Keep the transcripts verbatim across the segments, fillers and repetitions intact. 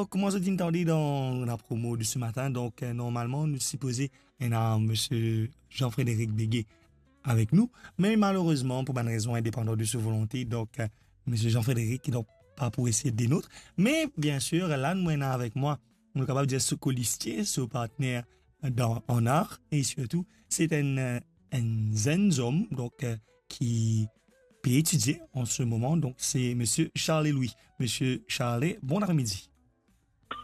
Kouma zot inn tande dan lapromo de se matin, donk, euh, normalman, nou sipoze ena Misie Jean-Frédéric Béguet avek nou, me malerezman, pou bann rezon indepandan de so volonte, donk, euh, Misie Jean-Frédéric, donk, pa pou esi de nou. Me, biensir, la, nou ena avek mwa, nou kapav dir so kolistie, so partner dan, an ar, e sirtou, se enn, euh, enn zenn zom, donk, euh, ki pe etidie an se moman, donk, se Misie Charles Louis. Misie Charles, bon apremidi.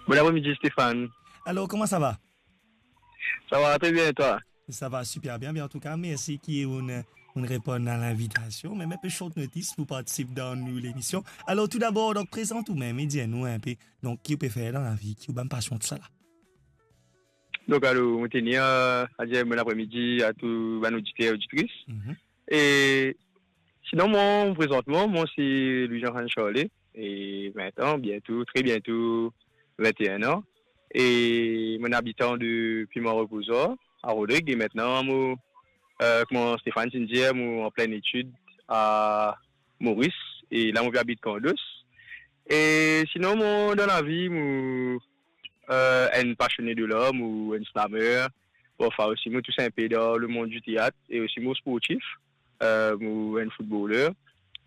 Bon apremidi, Stéphane. Alor, kouma sa va? Sa va tre bien, e twa? Sa va siper bien, me antouka, mersi ki ou'nn, ou'nn reponn a linvitasion. Me, me pe short notice pou partisip dan nou lemision. Alor, toudabor, donk, prezant ou mem e dir nou inpe, donk, ki ou pe fer dan lavi, ki ou bann pasion, tousala. Donk, alor, mo tenir, euh, a dir bon apremidi a tou bann oditer, oditris. Mhm. E sinon, mwa, prezantman, mwa, se Louis Jean Charles, e vin an, biento, tre biento, vin e enn an. E mo abitan de Piment Reposor, a Rodrig, e aster, mo, euh, kouma Stéphane ti dir, mo an plin etid a Moris, e la, mo pe abit Kandos. E sinon, mo, dan lavi, mo, euh, enn pasione de lar, mo enn slammer, parfwa osi, mo tous inpe dan lemond di teat, e osi mo sportif, euh, mo enn footballer.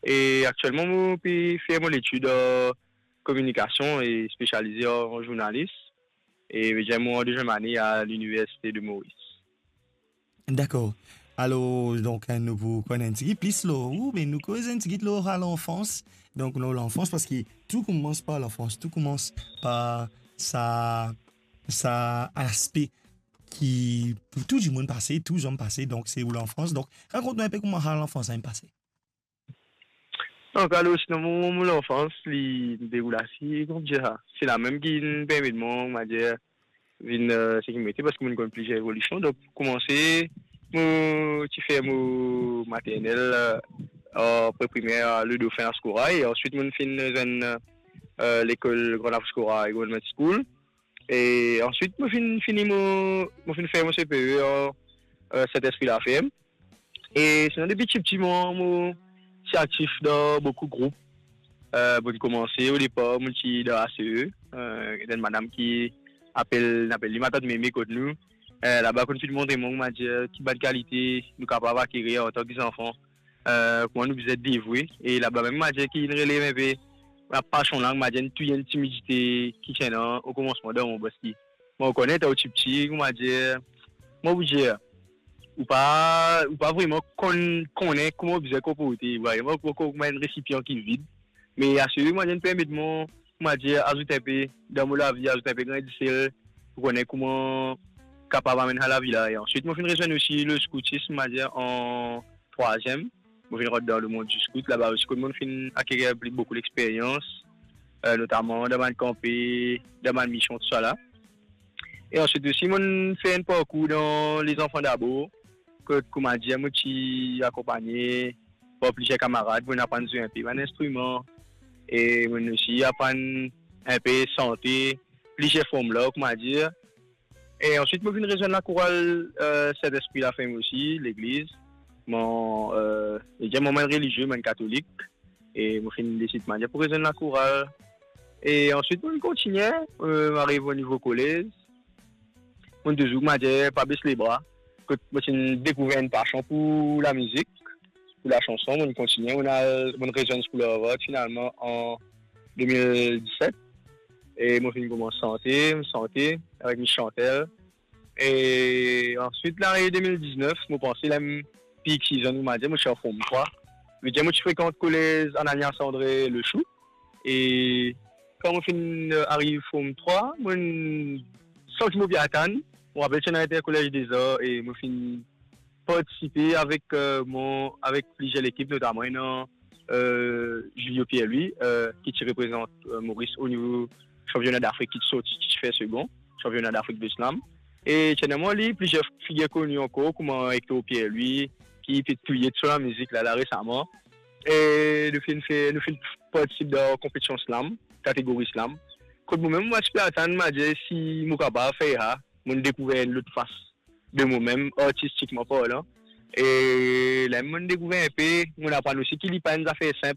E aktielman, mo pe fer mo letid, euh, kominikasion e spesialize an, an zournalis. E mo an deziem ane a Liniversite de Moris. Dakor. Alor, donk, nou pou konn enn tigit plis lor ou, me nou koz enn tigit lor lanfans. Donk, lor lanfans, parski tou koumans par lanfans, tou koumans par sa, sa laspe ki pou tou dimoun pase, tou zom pase, donk se ou lanfans. Donk, rakont nou inpe kouma sa lanfans inn pase. Donk, alor, sinon, mo, mo lanfans, li deroul ase, kouma dir sa, se lamem ki permet mwa, kouma dir, vinn, euh, seki mo ete, parski mo konn plizier evolision. Donk, pou koumanse, mo ti fer mo maternel, euh, an pre-primer, euh, Le Dauphin Ascora, e answit, mo finn zwenn, euh, lekol Grand Havre Ascora e Government School. E answit, mo finn fini mo, mo finn fer mo C P E an, euh, Saint-Esprit Laferme. E sinon, depi tipti, mo, mo ti aktif dan boukou group. Euh, pou koumanse, o depar, mo ti dan A C E, euh, enn madam ki apel, nou apel li Matant Mémé kot nou. Euh, laba, konn finn montre mwa, kouma dir, ki bann kalite nou kapav akirir antan ki zanfan. Euh, kouma nou bizin devwe. E laba mem, kouma dir, ki inn relev inpe lapasion la, kouma dir, tou enn timidite ki ti ena o koumansman dan mwa, parski mo konn, letan ou ti piti, kouma dir, mo pou dir, ou pa, ou pa vreman konn, konnen kouma ou bizin konporte, ou pa, mo, mo, kouma enn resipian ki vid. Me A C E, kouma dir, inn permet mwa, kouma dir, azout inpe dan mo lavi, azout inpe grin disel, pou konnen kouma kapav amenn sa lavi la. E answit, mo finn rezwenn osi le scoutisme, kouma dir, an trwaziem. Mo finn rant dan lemond di scout, laba osi, kot mo finn akirir pli boukou lexperyans, euh, notaman dan bann kanpe, dan bann mision, tousala. E answit osi, mo finn fer enn parkour dan Les Enfants d'Abord, kot, kouma dir, mo ti akonpagne par plizier kamarad, mo aprann zwe inpe bann instriman, e mo osi aprann inpe sante, plizier form lar, kouma dir. E answit, mo finn rezwenn lakoral, euh, Saint-Esprit Laferme osi, legliz. Mo, euh, e dir, mo enn relizie, mo enn katolik. E mo finn desid, kouma dir, pou rezwenn lakoral. E answit, mo kontigne, euh, mo ariv o nivo kolez. Mo touzour, kouma dir, pa bes lebra. Kot mo ti dekouver enn pasion pou lamizik, pou lasanson, mo kontigne, mo al, mo rezwenn School of Art finalman an de mil diset. E mo finn koumans sante, mo sante avek Miss Chantel. E answit, lane de mil diznef, mo panse la mo pli ki zenn, kouma dir, mo ti an form trwa. Vedir mo ti frekant kolez Ananias André Le Chou. E kan mo finn, euh, ariv form trwa, mo santi mo pe atann. Mo rapel ti ena Intercollège des Arts e mo finn partisipe avek, euh, mo, avek plizier lekip, notaman ena, euh, Julio Pierre-Louis, euh, ki ti reprezant, euh, Moris o nivo sanpiona Dafrik, ki ti sorti, ki ti fer segon sanpiona Dafrik de slam. E ti ena mwa li, plizier figir koni ankor, kouma Hector Pierre-Louis, ki pe touye so lamizik la, la resaman. E nou finn fer, nou finn partisip dan konpetision slam, kategori slam. Kot mo mem, mo ti pe atann, mo dir si mo kapav fer sa, mo dekouver enn lot fas de mo mem, artistikman parlan. E la mo dekouver inpe, mo aprann osi ki li pa enn zafer sinp